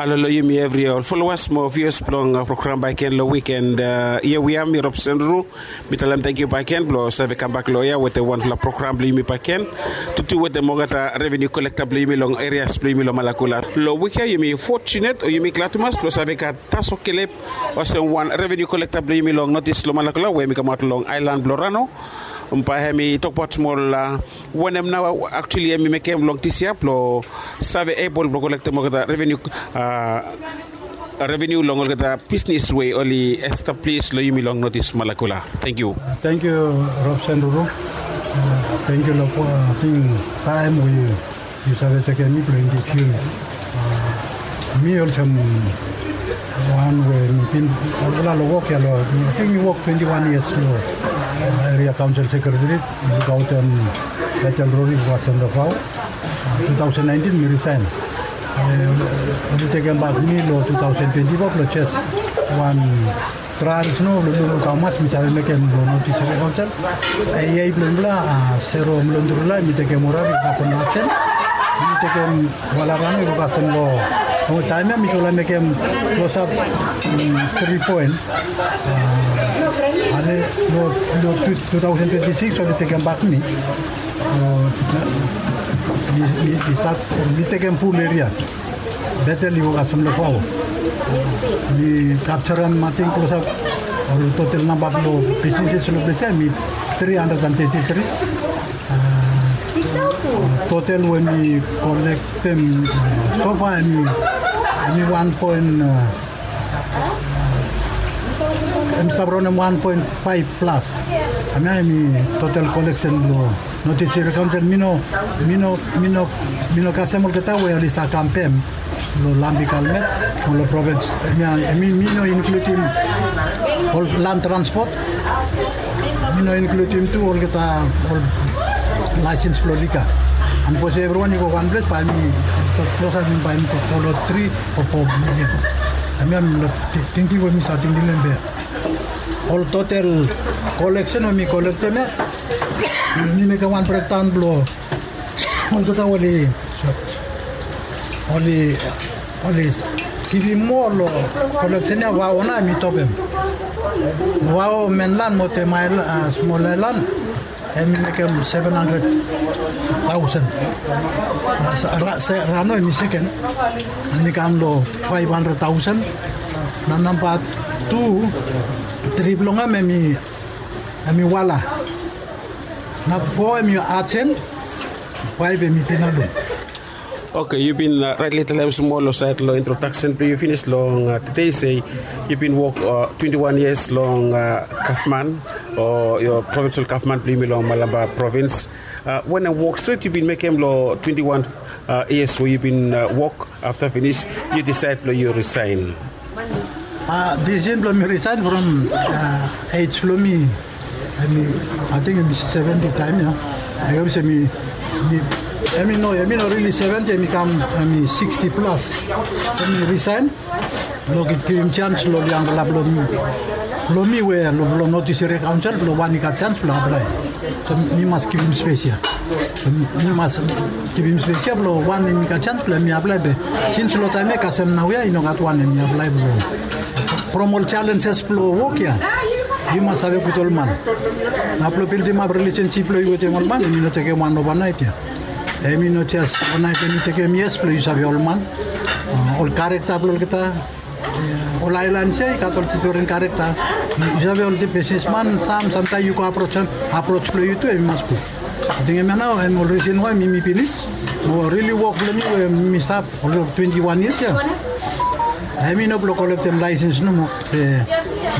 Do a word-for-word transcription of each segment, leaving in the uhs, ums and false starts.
Halo long yumi evri ol folowas mo vius blong program bakegen long wiken. Ia we am mi Rob Senduru. Mi talem tangkiu bakegen blong save kambak long ia wetem wanfala program blong yumi bakegen, tutu wetem olgeta revenu kolekta blong yumi long erias blong yumi long Malakula. Long wik ia yumi fotunet o yumi glad tumas blong save gat Taso Kelep olsem wan revenu kolekta blong yumi long Notis long Malakula we mi kamaot long aelan blong Rano. Bae hem i tokbaot smol wanem nao aktuali hem i mekem long disiap blong save ebol blong kolektem olgeta revenu revenu long olgeta bisnis we oli establis long yumi long Notis Malakula. Tangkiu. Tangkiu, Rob Senduru. Tangkiu long ating taem we yu save tekem mi blong introdusim mi olsem wan we mi bin olgeta long wok ia long, ating mi wok twenti wan yias long eria kaonsel sekretari. Mi lukaotem Betel Rori Wasendafao. Two thousand nineteen mi risaen. Oli tekem bak mi long two thousand twenty-four blong jes wan trael sno blong lukluk hamas mi save mekem long Notis Eria Kaonsel. Eia blong mifala Sero Milondrula mi tekem Orari kasem Nasen. Mi tekem Walarano i go kasem long taem ia mifala mekem klosap tri poen. Ale long two thousand twenty-six oli tekem bak mi. Mi stat mi tekem pul eria. Betel i go kasem long Fao. Mi kapjarem ating klosap ol total namba blong bisnises long ples ia mi tri handred and teti tri. Total we mi kolektem sofa hemi wan poen, hemi stap raonem wan poen faef plas. Hemia hemi total koleksen blong Notis Eria Kaonsel. Mi no mi no mi no mi no kasem olgeta we oli stap kam pem long Lambi Kalmet mo long provins. Hemia mi mi no inkludim ol lan transpot. Mi no inkludim tu olgeta ol laesens blong lika. Sapos evriwan i go wan ples bae mi tok klosap mi bae mi tok go long tri o fo milian. Hemia mi no tingting we mi save tingting long hemia. Ol total koleksen we mi kolektem ia mi mekem wan brekdaon blong olgeta oli oli oli givim moa long koleksen ia. Vao nao hemi topem. Vao menlan mo temael smol aelan hemi mekem seven handred taosen. Rano hemi seken, hemi kam long faef handred taosen. Na namba tu, tri blong hem hemi Wala. Na fo hemi Ajen. Faef hemi Pinalum. Oke, yu bin raetli talem smol long saed long introdaksen blong yu finis long tede se yu bin wok twenti wan yias long gavman o provinsel gavman blong yumi long Malampa provins. Wanem wok stret yu bin mekem long twenti wan yias we yu bin wok afta finis yu disaed blong yu risaen? Disisin blong mi risaen from ej blong mi, hemi ating hemi seventi taem ia. Ai hope se mi hemi no hemi no rili seventi, hemi kam hemi siksti plas. So mi risaen blong givim jans long ol yangfala blong mi we long Notis Eria Kaonsel blong wan i gat jans blong aplae. So mi mas givim spes ia. Mi mas givim spes ia blong wan hemi gat jans blong hemi aplae be sins long taem ia kasem naoia i no gat wan hemi aplae blong from ol jalenjes blong wok ia. Yu mas save gud ol man. Na blong bildimap rilesensip blong yu wetem ol man hemi no tekem wan ovanaet ia. Hemi no jes ovanaet hemi tekem yias blong yu save ol man, ol karekta blong olgeta. Ol aelan ia i gat ol difren karekta. Yu save ol bisnisman sam samtaem yu go aprosem, apros blong yu tu hemi mas gud. Ating hemia nao hem ol risen wae mi mi pinis mo rili wok blong mi we mi stap ol twenti wan yias ia. Hemi no blong kolektem laesens nomo. Be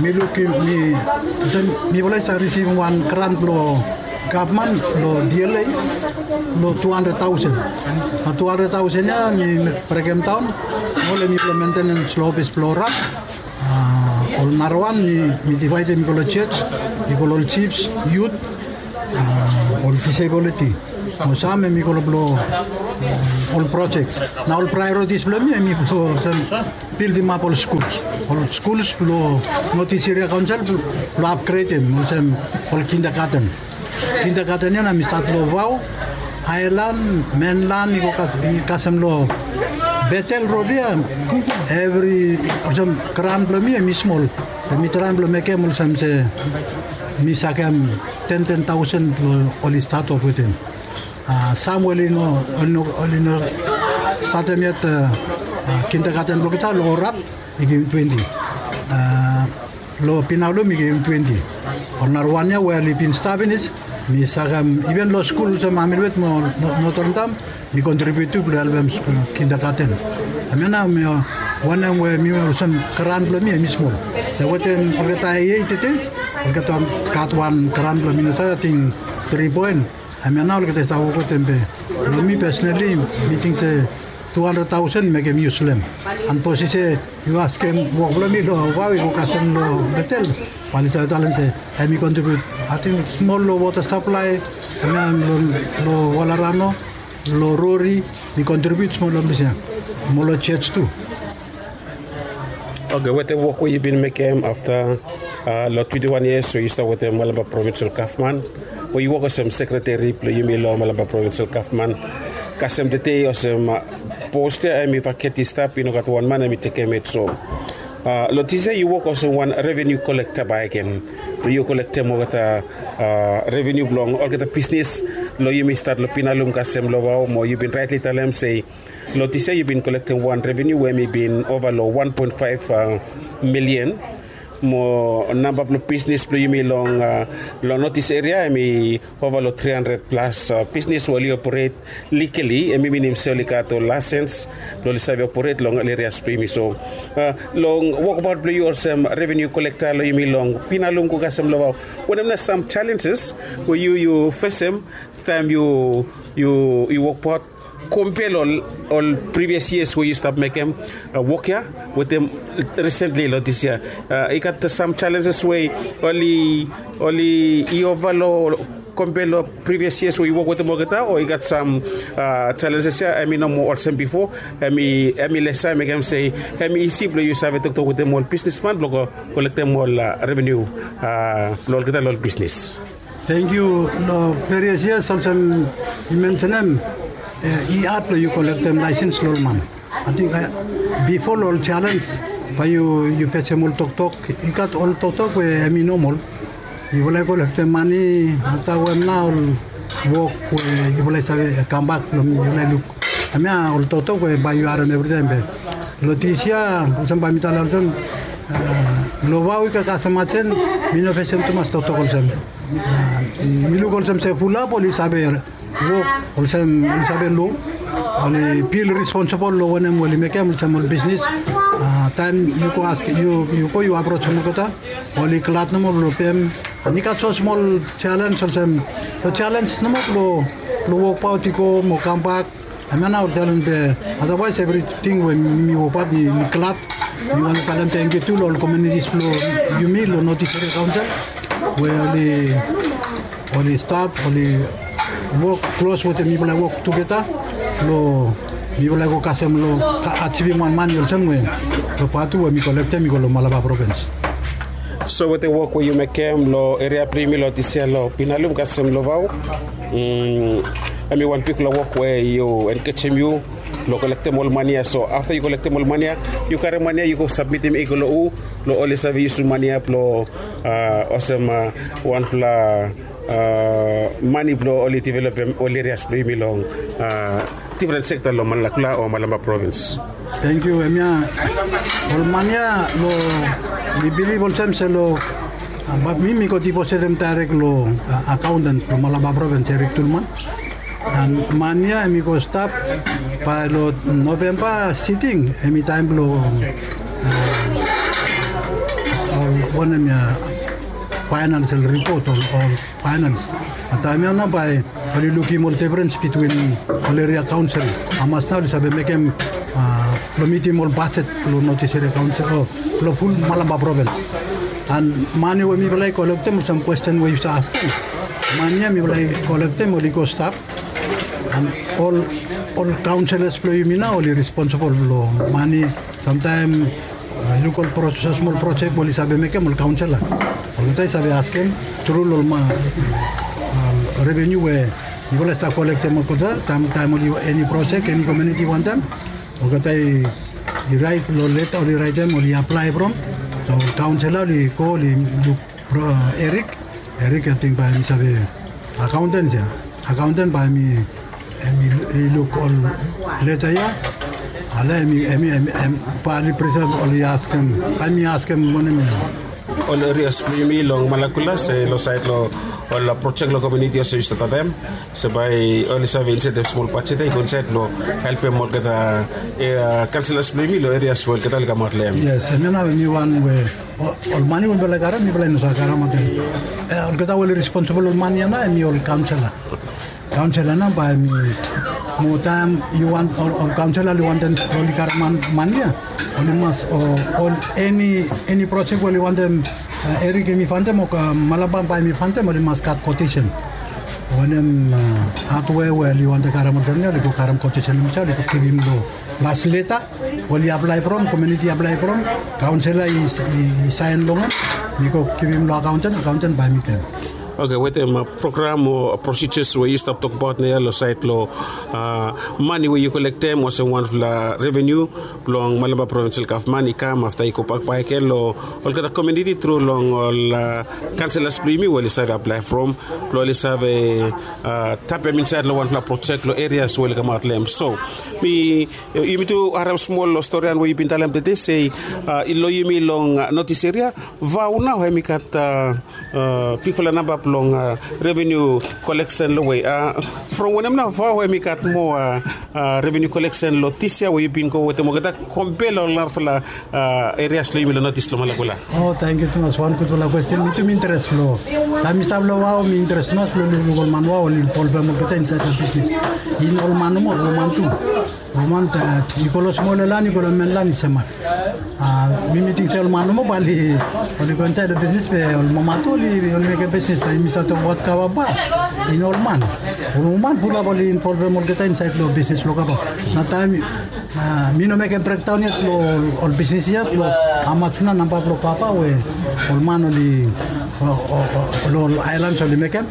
mi lukim mi olsem mifala i stap risivim wan gran blong gavman long D L A long tu handred taosen. Na tu handred taosen ia mi brekem daon ol hemi blong mentenens long ofis blong ol rap. Ol narawan mi divaedem i go long jos, i go long ol jifs, yut, ol disebiliti. Mo sam hemi go long blong ol projeks. Na ol praeoritis blong mi hemi blong bildimap ol skuls, ol skuls blong Notis Eria Kaonsel blong apgredem olsem ol kindagaten. Kindagaten ia na mi stat long Vao, Aelan, Menlan i go kasem long Betel rod ya, evri olsem, gran blong mi em i smol. Mi traem blong mekem olsem se mi sakem ten ten taosen blong oli stat of wetem. Sam we oli no, oli no, oli no statem yet kindergarten blong olgeta long Orap, mi givim twenti. Long Pinalum mi givim twenti. Ol nara wan ya we oli bin stap finis, mi sakem iven long skul olsem Amilwet mo Notre Dame, mi kontribiut tu blong helpem kindergarten. Hemia nao mi wanem we mi olsem gran blong mi em i smol. Wetem olgeta ei tete, olgeta gat wan gran blong mi no save, ating tri poen. Hemia nao olgeta i save wok wetem be. Long mi pesonali, mi ting se tu handred taosen mekem yus long hem. An sapos yu se yu askem wok blong mi long vao i go kasem long Betel, bae oli save talem se hem i kontribiut, ating, smol long wota saplae, hemia long Walarano, long Rori, mi kontribiut smol long ples ya mo long jos tu. Oke, wetem wok we yu bin mekem afta long twenti wan yias we yu stap wetem Malampa Provinsel Gavman, we yu wok olsem sekreteri blong yumi long Malampa Provinsel Gavman, kasem tede olsem pos ya hem i vaket i stap, i no gat wan man hem i tekem yet. So long disya yu wok olsem wan revenu kolekta bakegen, blong yu kolektem olgeta revenu blong olgeta bisnis long yumi stat long Pinalum kasem long vao, mo yu bin raetli talem se long disya yu bin kolektem wan revenu we hem i bin ova long wan poen faef milian. Mo namba blong bisnis blong yumi long, long North East eria hem i ova long tri handred plas bisnis we oli operet likali, hem i minim se oli gat ol laesens blong oli save operet long ol erias blong yumi. So long wokbaot blong yu olsem revenu kolekta long yumi long Pinalum go kasem long vao, wanem nao sam jalenjes we yu yu fesem taem yu yu wokbaot, kompea long ol privias yias we yu stap mekem wok ya wetem risentli long disya? I gat sam jalenjes we oli oli i ova long, kompea long privias yias we yu wok wetem olgeta, o i gat sam jalenjes ya hem i no moa olsem bifo, hem i hem i lesa, mekem se hem i isi blong yu save toktok wetem ol bisnisman blong kolektem ol revenu blong olgeta long ol bisnis? Tangkiu. Long privias yias olsem yu mensenem, i had blong yu kolektem laesens long ol man. Ating bifo long ol jalenj bae yu yu fesem ol toktok, i gat ol toktok we hem i nomol. Yufala i kolektem mane afta we hem nao ol wok we yufala i save kambak blong yufala i luk. Hemia ol toktok we bae yu harem evritaem be. Long disya olsem bae mi talem olsem, long vao i kasem ajen, mi no fesem tumas toktok olsem. Mi luk olsem se fulap oli save wok olsem oli save lo, oli fil responsibol long wanem oli mekem olsem ol bisnis. Taem yu go askem, yu go yu aprojem olgeta, oli glad nomo blong pem. An i gat so smol jalenj olsem, long jalenj nomo blong wokbaot i go mo kambak. Hemia nao ol jalenj be, adawaes evriting we mi wokbaot mi glad. Mi wantem talem tangkiu tu long ol komiunitis blong yumi long North East Area Council we oli oli stap, oli wok klos wetem mifala i wok tugeta blong mifala i go kasem long ajivim wan mane olsem we long pat tu we mi kolektem i go long Malampa Provins. So wetem wok we yu mekem long eria blong yumi long disya long Pinalum kasem long vao, hem i wan bigfala wok we yu engejem yu blong kolektem ol mane ya. So afta yu kolektem ol mane ya, yu karem mane ya yu go sabmitim i go long hu blong oli save yusum mane ya blong olsem wanfala mane blong oli developem ol erias blong yumi long difren sekta long Malakula o Malampa Provins? Tangkiu. Hemia ol mane ya long, mi bilif olsem se long, bat mi mi go dipositem daerek long akaonten blong Malampa Provins, Erik Tulman. An mane ya hem i go stap bae long Novemba siting, hem i taem blong ol wanem ya, faenansel ripot o ol faenans. An taem ya nao bae oli lukim ol difrens bitwin ol eria kaonsel, hamas nao oli save mekem blong mitim ol bajet blong North East Eria Kaonsel o blong ful Malampa Provins. An mane we mifala i kolektem, olsem kwesten we yu save askem, mane ya mifala i kolektem oli go stap. An ol ol kaonselas blong yumi nao oli responsibol long mane. Samtaem yu luk ol proses, smol projek we oli save mekem, ol kaonsela olgeta i save askem tru long ol revenu we yufala i stap kolektem olgeta taem taem oli eni projek, eni komuniti wantem. Olgeta i raet long leta oli raetem oli aplae from. So kaonsela oli go oli luk Erik. Erik ating bae hem i save akaonten ya. Akaonten bae hem i luk ol leta ya. Ale hem i bae oli prisent oli askem bae hem i askem wanem ya. Ol erias blong yumi long Malakula se long saed long ol projek long komiuniti olsem yu stap talem se bae oli save insaed smol bajet ya i go insaed long helpem olgeta kaonselas blong yumi long erias we olgeta oli kamaot long hem. Yes, hemia nao hem i wan we ol mani we mifala i karem mifala i no save karem ating. Olgeta we oli responsibol long mani ya nao hem i ol kaonsela. Kaonsela nao bae hem i mo taem yu want ol kaonsela oli wantem oli karem mani ya, oli mas ol eni projek we oli wantem Erik hem i fantem o Malaba bae hem i fantem oli mas gat kotesen. Wanem hatwe we oli wantem karem olgeta ya oli go karem kotesen long hemsel oli go givim long las leta we oli aplae from komiuniti aplae from. Kaonsela i saen long hem. Mi go givim long akaonten akaonten bae hem i givim. Oke, wetem program o prosijas we yu stap tokbaot naoia long saed long mani we yu kolektem olsem wanfala reveniu blong Malemba Provinsel Gavman i kam afta i gobak bakegen long olgeta komiuniti tru long ol kaonselas blong yumi we oli save aplae from blong oli save tapem insaed long wanfala projek long erias we oli kamaot long hem. So mi yumi tu harem smol long storian we yu bin talem tede se long yumi long notis eria vao nao hem i gat bigfala namba blong reveniu koleksen long we from wanem nao vao hem i gat moa reveniu koleksen long dis yia we yu bin go wetem olgeta kompe long ol narafala erias long yumi long notis long Malakula. O tangkiu tumas wan gudfala kwesten mi tu mi interes long taem mi stap long vao mi interes tumas long lukluk ol man vao oli involvem olgeta insaed long bisnis. In ol man nomo ol woman tu. Woman yu go long smol laen yu go long men laen i semak. Mi mi ting se ol man nomo bae oli go insaed long bisnis be ol mama tu oli mekem bisnis taem mi stap tokbaot kava bae i no ol man. Ol woman pulap oli involvem olgeta insaed long bisnis blong kava. Na taem mi no mekem brekdaon yet long ol bisnis ya blong hamas nao namba blong kava we ol man oli long ol aelans oli mekem.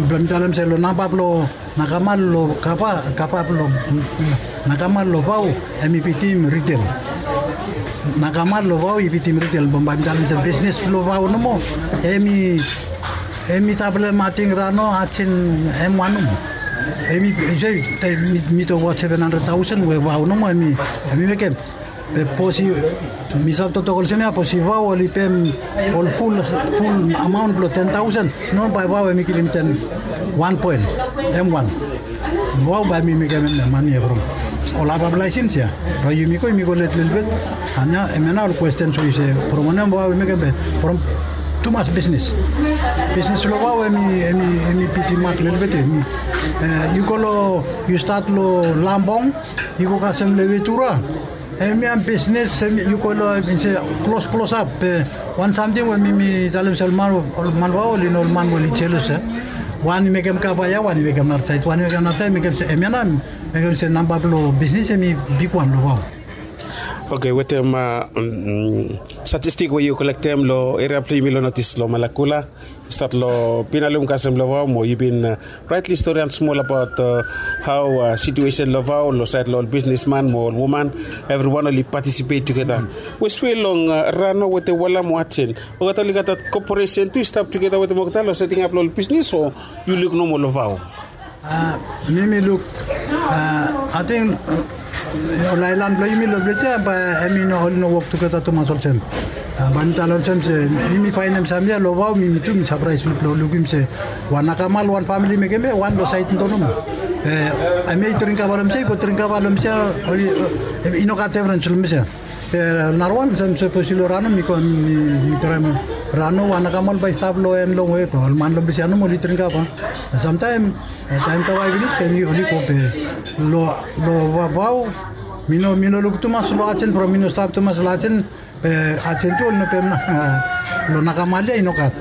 Blong mi talem se long namba blong nakamal long kava kava blong nakamal long vao hem i bitim ritel. Nakamal long vao i bitim ritel blong bae mi talem se bisnis blong vao nomo hem i hem i tablem ating rano atin hem wan nomo. Hem i se mi tokbaot seven handred taosen we vao nomo hem i mekem. Be bos i mi save toktok olsem ya bos i vao oli pem ol ful ful amaon blong ten taosen. No bae vao hem i givim ten wan poen hem wan. Vao bae mi mekem hem mani ya from ol hapap laesens ya. Bae yumi go yumi go let lelebet. Ania hem ya nao ol kwestens we yu se from wanem vao i mekem be from tumas bisnis. Bisnis long vao hem i hem i hem i bitim mak lelebet ya. Yu go long yu stat long lambong yu go kasem long ewetura. Hemia bisnis yu go long hem i se klos klosap be wan samting we mi mi talem se ol man ol man vao oli no ol man we oli jelos ya. Wan i mekem kava ya wan i mekem narasaed wan i mekem narasaed mekem se hemia nao mekem se namba blong bisnis hem i bigwan long vao. Oke wetem statistik we yu kolektem long eria blong yumi long notis long Malakula. Stat long pinalum kasem long vao mo yu bin raetli storian smol abaot hao situesen long vao long saed long ol bisnisman mo ol woman evriwan oli patisipet tugeta. Weswe long rano wetem wala mo aten olgeta oli gat dat koporesen tu i stap tugeta wetem olgeta long setingap long ol bisnis o yu luk nomo long vao? Mi mi luk ating ol aelan blong yumi long ples ya bae hem i no oli no wok tugeta tumas olsem. Bae mi talem olsem se mi mi faenem samia long vao mi mi tu mi sapraes luk long lukim se wan akamal wan famili i mekem ya wan long saed nomo. Be hemia i dring kava long hemsel i go dring kava long hemsel oli i no gat defrens long hemsel. Be narawan olsem sapos i long rano mi go mi traem rano wan akamal bae i stap long en longwe be ol man long hemsel nomo oli dring kava. Samtaem taem kava i finis be oli go be long long vao mi no mi no luk tumas long ajen from mi no stap tumas long ajen. Be ajen tu oli no pem long nakamal ya i no gat.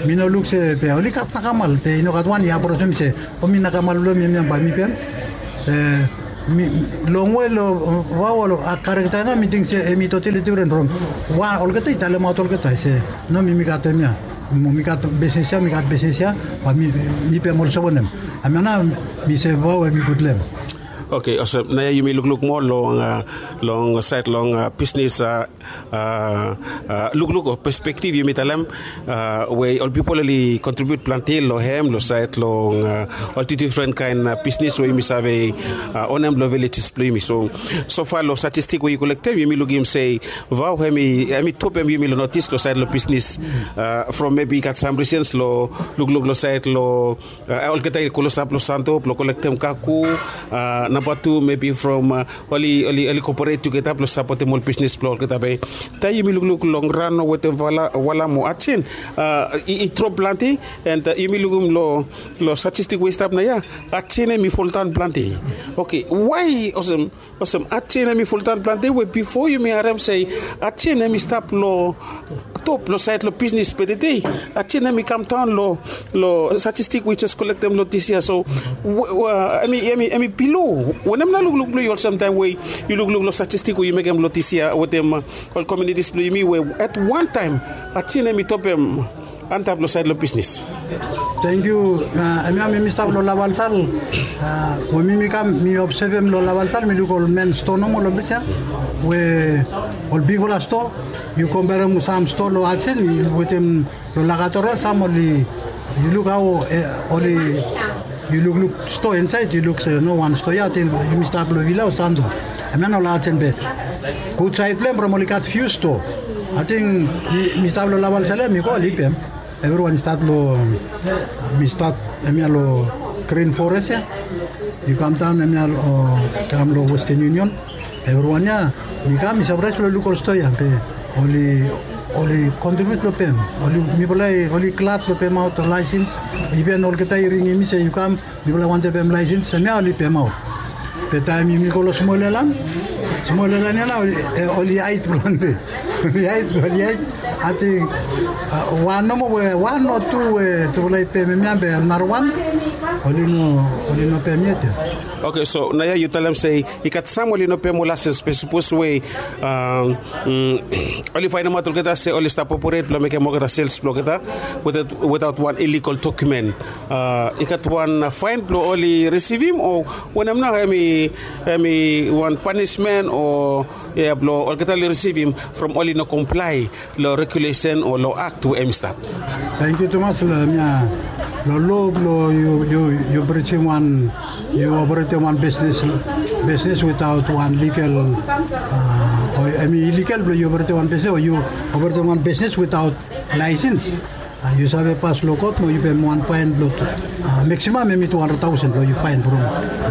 Mi no luk se be oli gat nakamal be i no gat wan i aprosim se o mi nakamal blong mi hemia bae mi pem. Be mi longwe long vao ol karekta ya nao mi ting se hem i totali difren from wan olgeta i talemaot olgeta se no mi mi gat hemia. Mo mi gat bisnis ya mi gat bisnis ya bae mi mi pem olsem wanem. Hemia nao mi se vao hem i gud long hem. Oke, olsem naoia yumi lukluk moa long, long sait long bisnis lukluk o perspektif yumi talem, we ol pipol oli kontribiut plante long hem long sait long ol difren kaen bisnis we yumi save onem long vilejes blong yumi. So sofa long statistik we yu kolektem yumi lukim se vau hem i topem yumi long notis long sait long bisnis. From mebi i gat sam risens long lukluk long sait long olgeta i klosap long santo blong kolektem kaku. Namba tu mebi from oli koporet tugeta blong sapotem ol bisnis blong olgeta be taem yumi lukluk long ran wetem wala mo ajen i drop plante. And yumi lukim long statistik we i stap naoia ajen hem i foldaon plante. Oke, wae olsem olsem ajen hem i foldaon plante we bifo yumi harem se ajen hem i stap long top long sait long bisnis be tede ajen hem i kamdaon long statistik we jes kolektem long dis yia. So hem i bilo wanem nao lukluk blong yu olsem taem we yu lukluk long statistik we yu mekem long dis yia wetem ol komiunitis blong yumi we at wan taem ajen hem i topem antap long sait long bisnis. Tengkiu. Hemia mi mi stap long lavalsal we mi mi kam mi obsevem long lavalsal mi luk ol men sto nomo long ples ya we ol bigfala sto. Yu komperem sam sto long ajen wetem long lakatorol sam oli yu luk hao oli yu lukluk sto insait yu luk se no wan sto ya ating yumi stap long vila o santo. Hemia no long ajen be gud sait blong hem from oli gat fiu sto. Ating mi stap long lavalsal ya mi go oli pem. Evriwan i stat long mi stat hemia long grin fores ya. Yu kamdaon hemia long kam long westen yunion. Evriwan ya mi kam mi sapraes blong luk ol sto ya be oli oli kontribiut blong pem. Oli mifala oli glad blong pemaot laesens. Iven olgeta i ringim mi se yu kam mifala wantem pem laesens hemia oli pemaot. Be taem yumi go long smol elan smol elan ya nao oli haet blong hande oli haet oli haet. Ating wan nomo we wan o tu we tufala i pem hemia be narawan oli no oli no pem yet ya. Oke, so naoia yu talem se i gat sam oli no pem ol laesens be sapos we oli faenemaot olgeta se oli stap oporet blong mekem olgeta sels blong olgeta wetaot wan iligal dokumen. I gat wan faen blong oli risivim o wanem nao hem i wan panismen o blong olgeta oli risivim from oli no komplae long regulesen o long akt we hem i stap. Tengkiu tumas long hemia long lo blong yu yu yu brijim wan yu operetem wan bisnis bisnis witaot wan ligal o hem i iligal blong yu operetem wan bisnis o yu operetem wan bisnis witaot laesens. Yu save pas long kot mo yu pem wan faen blong meksimam hem i tu handred taosen blong yu faen from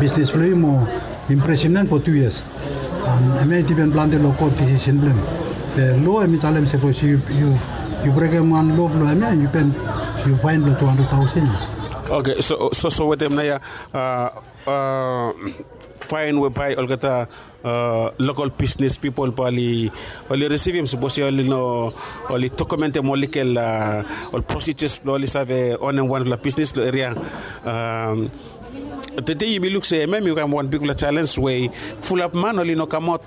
bisnis blong yu mo imprisimnen fo tu yias. Hemia i dipen plante long kot disisen blong hem. Be lo hem i talem sapos yu yu brekem wan lo blong hemia yu pem yu faen blong tu handred taosen. Oke, so so wetem naoia faen we bae olgeta lokal bisnis pipol bae oli risivim sapos ya oli no oli dokumentem ol ligal ol prosijas blong oli save onem wanfala bisnis long eria. Tede yumi luk se hemia mi kam wan bigfala jalenj we fulap man oli no kamaot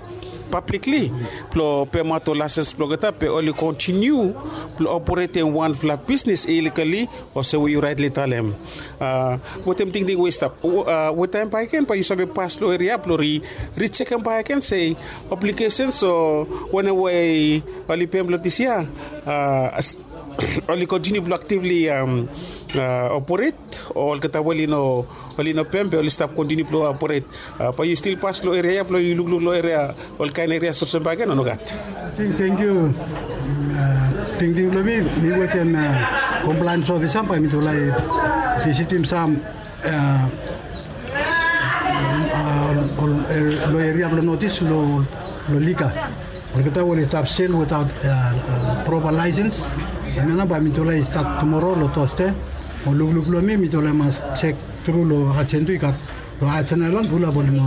pablikli blong pemaot ol laesens blong olgeta be oli kontiniu blong operetem wanfala bisnis iligali. Olsem we yu raetli talem wetem tingting we i stap we taem bakegen bae yu save pas long eria blong ri rijekem bakegen se apligesens o wanem we oli pem long dis yia oli kontiniu blong aktivli oporet o olgeta we oli no oli no pem be oli stap kontiniu blong oporet. Bae yu stil pas long eria ya blong yu lukluk long eria olkaen eria olsem bakegen o nogat? Tengkiu. Tingting blong mi mi wetem komplaens ofisa bae mitufala i visitim sam long eria blong notis long long liga. Olgeta we oli stap sel wetaot propa laesens. Hemia nao bae mitufala i stat tumoro long tose mo lukluk blong mi mitufala i mas jek tru long ajen tu i gat long ajen aelan fulap oli no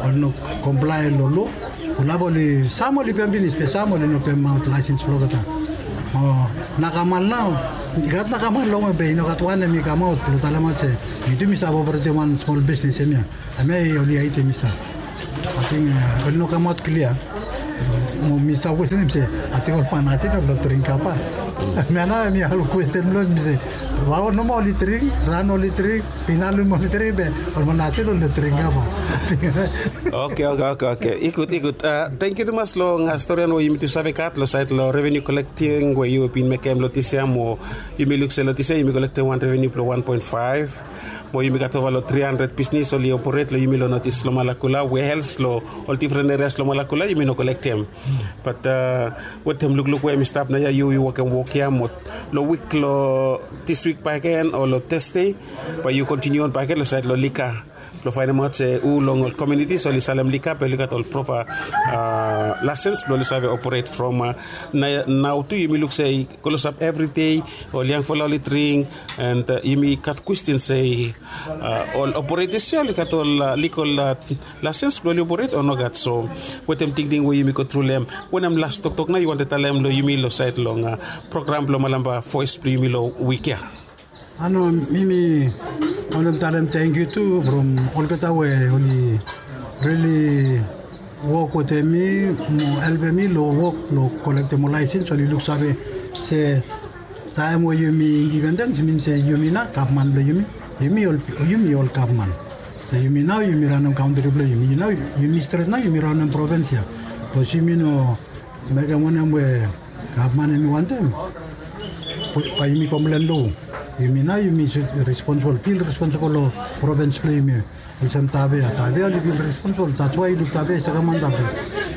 oli no komplae long lo. Fulap oli sam oli pem finis be sam oli no pemaot laesens blong olgeta. O nakamal nao i gat nakamal longwe be i no gat wan hem i kamaot blong talemaot se mi tu mi save operetem wan smol bisnis hemia. Hemia oli haetem i stap. Ating oli no kamaot klia. Mo mi stap kwestenim se, ating ol man ating ol no dring kapa. Mi nao mi ol kwesten blong mi se, vao nomo oli dring, ran oli dring, pinalum oli dring be ol man ating ol no dring kapa. Oke, oke, oke, oke. I gud, i gud. Thank you tumas long storian we yumi tu save gat long sait long revenue collecting we yu bin mekem long dis yia mo yumi luk se long dis yia yumi collectem wan revenue blong wan poen faef. Mo yumi gat ova long tri handred bisnis oli operate long yumi long notis long Malakula, whereas long ol different areas long Malakula yumi no collectem. But wetem lukluk we yumi stap naoia yu yu wokem wok ya mo long wik long dis wik bakegen o long Thursday, bae yu continue on bakegen long sait long liquor blong faenemaot se hu long ol communities oli salem liquor be oli gat ol proper license blong oli save operate from. Nao tu yumi luk se i klosap everyday, ol yangfala oli dring. And yumi gat kwesten se ol operators ya oli gat ol legal license blong oli operate o nogat? So wetem tingting we yumi go tru long hem, wanem las toktok nao yu wantem talem long yumi long sait long program blong Malampa Voes blong yumi long wik ya? Ano, mi mi wantem talem tangkiu tu from olgeta we oli rili wok wetem mi mo helpem mi long wok long kolektem ol laesens, oli luksave se taem we yumi indipendens i min se yumi nao gavman blong yumi. Yumi ol gavman. So yumi nao yumi ranem kantri blong yumi. Yumi stret nao yumi ranem provins ya. Bikos yumi no mekem wanem we gavman hemi wantem, bae yumi komplen long hu? Yumi nao yumi sud responsibol, fil responsibol long provins blong yumi. Olsem Tavea, Tavea oli fil responsibol. That's why yu luk Tavea i stap kam antap ya.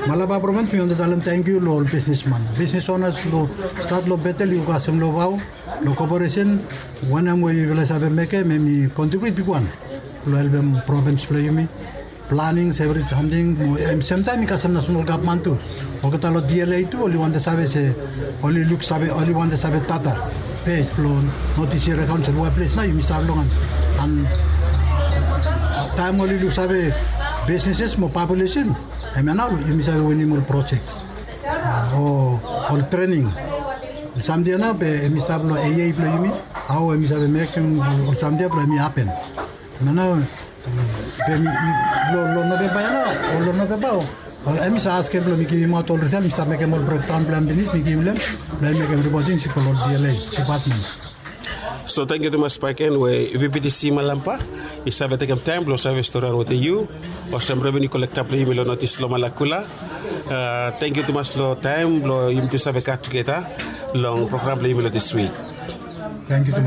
Malaba provins mi wantem talem tangkiu long ol bisnisman, bisnis onas, long stat long Betel, yu kasem long vao, long koporesen, wanem we yufala i save mekem hemi kontribiut bigwan long helpem provins blong yumi. Planings evri samting mo semtaem i kasem nasenal gavman tu. Olgeta long D L A tu oli wantem save se oli luksave, oli wantem save data bes blong notis yia akaonsel we ples nao yumi stap long hem. An taem oli luksave bisnises mo populesen, hemia nao yumi save winim ol projeks o ol trening. Samting ya nao be hemi stap long A A blong yumi, hao hemi save mekem ol samting ya blong hemi hapen. Hemia nao be mi long Novemba ya nao o long Novemba o hemi save askem blong mi givimaot ol risal, mi stap mekem ol brekdaon blong hem finis, mi givim long hem blong hem mekem ripoting i go long ol D L A dipatmen. So tangkiu tumas bakegen we V P T C Malampa i save tekem taem blong save storian wetem yu olsem revenu kolekta blong yumi long notis long Malakula. Tangkiu tumas long taem blong yumi tu save gat tugeta long program blong yumi long dis wik. Tangkiu tumas.